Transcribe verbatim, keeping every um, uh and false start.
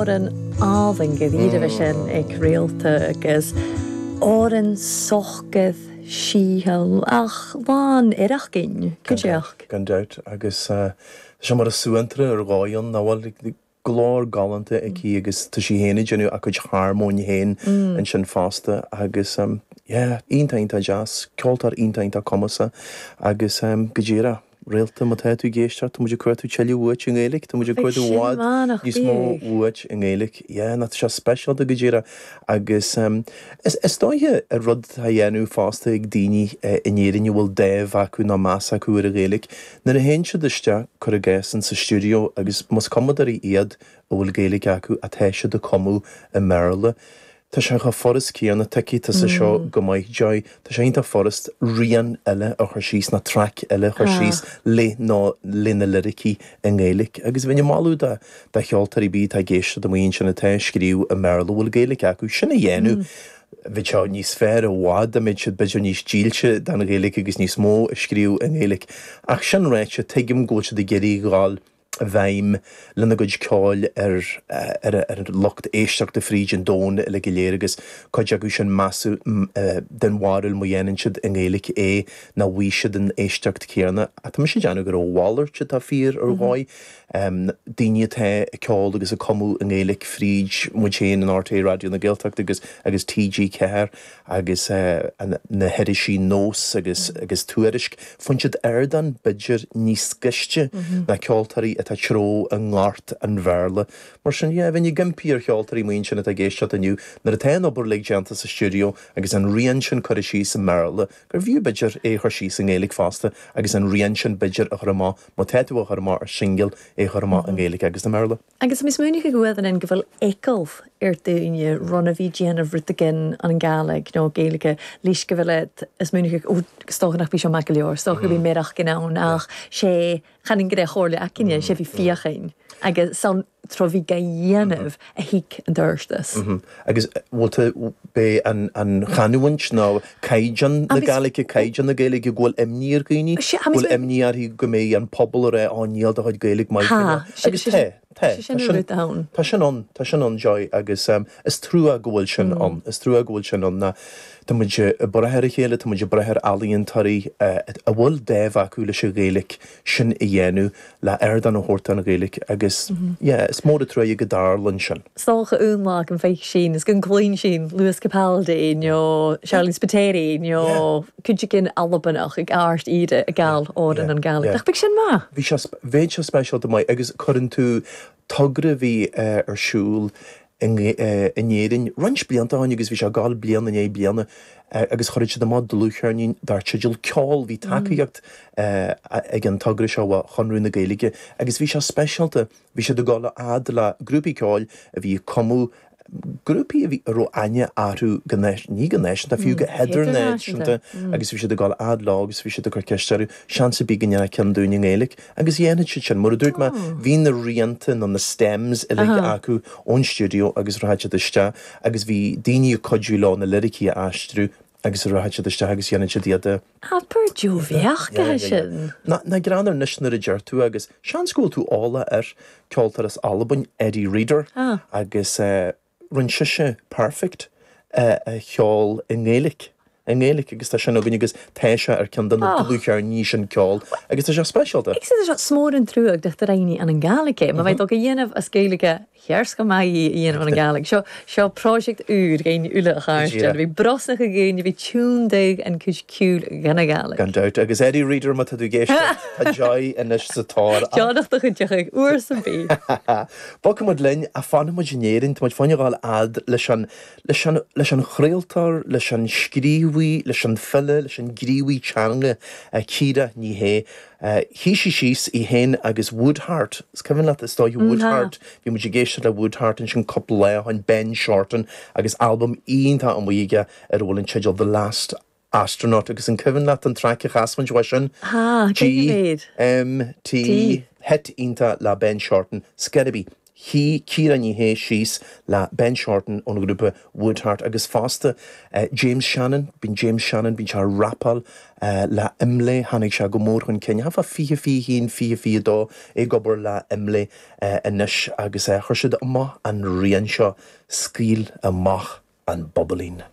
Òran àlainn go bhíre sin ag réalta agus òran sochgad síhall ach lán ireachgin cuideach. Gan dabht agus sé mar a suantra ar gáon na bhfuil glór galánta aici agus tá sí féin ag déanamh a cuid harmóin féin ansin fosta agus um, yeah, iontach iontach deas, ceoltóir iontach iontach cumasach agus um, go díreach réalta má tá tú ag éisteacht tá muid ag cuartú tuilleadh uait i nGaeilge, tá muid ag cuartú bhfad níos mó uait i nGaeilge. Yeah, ná tá sé speisialta go díreach agus um, is, is dóiche a rud a dhéanamh fosta ag daoine uh, in Éirinn a bhfuil dáimh acu ná meas acu ar an Ghaeilge. Nuair a théann siad isteach cur i gcás sa stiúideo agus más cumadóirí iad a bhfuil Gaeilge acu atá siad ag cumadh i mBéarla. Tá sé chomh furast céanna tuigfidh tusa seo go maith Joy, Tá sé iontach furast rian eile a chur síos ná traic eile a chur síos le nó le na liricí i nGaeilge. Agus bheinn ag moladh do do cheoltóirí bí tá ag éisteacht amuigh ansin atá ag scríobh i mBéarla bhfuil Gaeilge acu sin a dhéanamh. Bhí seo níos fearr i bhfad a mbeidh siad b'fhéidir níos dílse don Ghaeilge agus níos mó a scríobh i nGaeilge. Ach sin ráite tuigim go bhfuil siad ag iarraidh ghabháil i bhfeidhm lena gcuid ceoil ar ar ar an lucht éisteachta fríd an domhan uile go léir agus cuid acu sin measadh den bharúil má dhéanann siad i nGaeilge é ná bhfaighidh siad an éisteacht céanna. Ach tá mise ag déanamh go raibh a mhalairt atá fíor ar dhóigh. Daoine atá ag ceol agus ag cumadh i nGaeilge fríd muid féin in RTÉ Raidió na Gaeltachta agus agus TG Ceathair agus na hirisí Nós agus agus Tuairisc. Faigheann siad ardán b'fhéidir níos gaiste ná ceoltóirí atá treo i ngort an Bhéarla. Mar sin yeah, bheinn ag impí ar cheoltóirí amuigh ansin atá ag éisteacht inniu nuair atá an obair uilig déanta sa stiúideo agus an rian sin curtha síos i mBéarla, gur bhfiú b'fhéidir é a chur síos i nGaeilge fosta agus an rian sin b'fhéidir a chur amach má tá tú a chur amach ar singil é a chur amach i nGaeilge agus i mBéarla. Agus mis múnige go bhfuil go bhfuil eagal ar daoine runa bhí déanamh rud éigin an Gàidhlig nó Gaeilge leis go bhfuil is múnige stocha nach bí seo maith go leor, stocha bhí méireach gin ann ach sé chan an gré chóirle acinne sé bhí fiachain agus san tro bhí ga dhéanamh a hiic an dúirstas. Agus bhfuil bé an an chanúint nó caighdeán na Gaeilge caighdeán na Gaeilge go bhfuil imní ar dhaoine, bhfuil imní orthu go mbeidh an pobal a rá á níl do chuid Gaeilge maith agus tá Tá sin ann. Tá sin ann tá sin ann Joy agus um, is trua go bhfuil sin ann is trua go bhfuil sin ann na Tá muid ag brath ar a chéile tá muid ag brath ar ealaíontóirí a bhfuil dáimh acu leis an Ghaeilge sin a dhéanamh le ardán a thabhairt an Ghaeilge agus yeah, is mór an trua go dtarlaíonn sin. Socha únlá an féich sin is gon cloín sin Lewis Capaldi nó Charlie Spiteri nó cuid Albanach ag áirt iad a gal ó an Gàidhlig. Ach bheadh sin maith. Bhí sé bheadh sé speisialta maith agus cuireann tú togra bhí ar siúl in Éirinn roinnt blianta ó shin agus bhí sé gal bliain in é bliana agus chuir siad amach dlúthcheirnín dar teideal ceol bhí tacaíocht ag an togra seo ó Chonradh na Gaeilge agus bhí sé speisialta bhí siad ag dul a fhad le grúpaí ceoil a bhí ag cumadh grúpaí a bhí a raibh aithne orthu go ní go náisiúnta fiú go hidirnáisiúnta agus bhí siad ag dul a fhad leo agus bhí siad ag cur ceist orthu seans ar bith go ndéanfadh ceann dúinn i nGaeilge agus dhéanfaidh siad sin mar a dúirt mé bhí na rianta nó na stems uilig acu ón stiúideo agus rachaidh siad isteach agus bhí daoine ag cuidiú leo na liricí a aistriú agus rachaidh siad isteach agus dhéanann siad iad Abair bheach sin. Na na greannar níos nuair a deir tú agus seans go bhfuil tú eolach ar ceoltóir as Albain Eddi Reader agus uh, rinne sise Perfect uh, a cheol i nGaeilge. I nGaeilge agus tá sin againn agus tá sé ar ceann de na dlúthcheirníní sin ceol agus tá sé speisialta. Ag sé smór an trúag de réine an an Gàidhlig ma bheith go dhéanamh as Gaeilge Chears go maith í dhéanamh an Gàidhlig. Seo seo project úr géin ule a chairte, bhí brosna go géine bhí túndéig an cuid cúl ganna Gàidhlig. Gan dabht agus Eddi Reader má tá tú ag éisteacht tá Joy anois sa tóir. Teannach do chuid uair san bí. Bogfaidh muid linn a fanfaidh muid in Éirinn, tá muid fáinne gáil fhad leis an leis an leis an chraoltóir, leis an scríobhaí, leis an file, leis an gníomhaí teanga Ciara Ní É. Shuigh sí síos í féin agus Woodheart, is cuimhin leat is dóigh Woodheart, bhí muid ag éisteacht le Woodheart ansin cúpla lá ó shin Ben Shorten agus albam iontach amuigh aige ar a bhfuil an teideal The Last Astronaut agus an cuimhin leat an traic a chas muid uaidh sin? Ha, G M T hit iontach le Ben Shorten, Sceribí. Shuigh Ciara Ní É síos le Ben Shorten ón grúpa Woodheart agus fosta uh, James Shannon, bíonn James Shannon bíonn sé rapáil uh, le Imlé tháinig sé go mór chun cinn, fá fiche fiche haon fiche fiche dó ag obair le Imlé uh, anois agus uh, chuir siad amach an rian seo scaoil amach an bobailín.